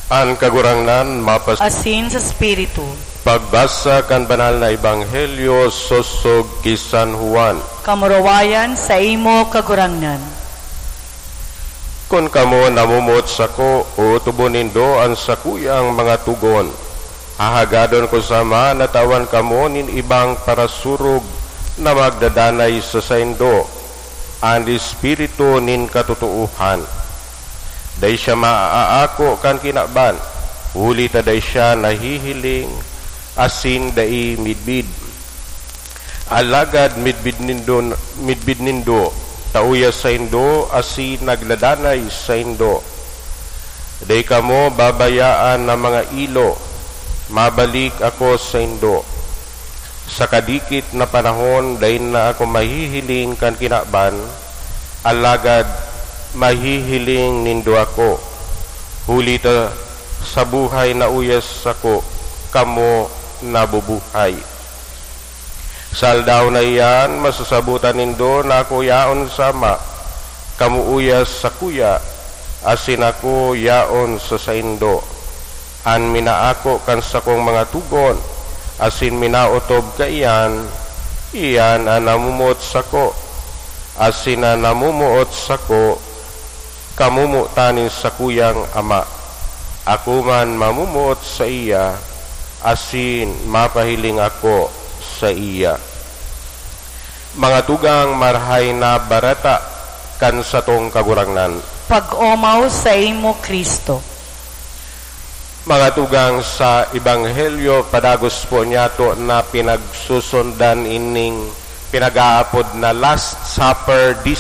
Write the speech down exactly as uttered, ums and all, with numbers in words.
An Kagurangnan mapas- Asin sa Espiritu. Pagbasa kan Banal na Ebanghelyo sosog ki San Juan. Kamurawayan saimo, Kagurangnan. Kun kamo namomoot sako, ootobon nindo an sakuyang mga togon. Hahagadon ko sa Ama na tawan kamo nin ibang parasurog na magdadanay sa saindo, an Espiritu nin katotoohan. Dai siya maaako kan kinaban, huli ta dai siya nahihiling asin dai midbid. Alagad midbid nindo, midbid nindo, ta uya saindo asin nagdadanay saindo. Dai kamo babayaan na mga ilo, mabalik ako saindo. Sa kadikit na panahon, dai na ako mahihiling kan kinaban, alagad mahihiling nindo ako, huli ta sa buhay na uya sako, kamo nabubuhay. Sa aldaw na iyan, masasabotan nindo na ako yaon sa Ama, kamo uya sakuya, asin ako yaon sa saindo. An minaako kan sakong mga togon, asin minaotob kaiyan, iyan an namomoot sako, asin an namomoot sako, kamomotan nin sakuyang Ama. Ako man mamomoot saiya, asin mapahiling ako saiya. Mga tugang, Marahay na Bareta kan satong Kagurangnan. Pag-omaw saimo, Cristo. Mga tugang, sa Ebanghelyo padagos po niyato na pinagsusundan ining pinag-aapod na Last Supper, di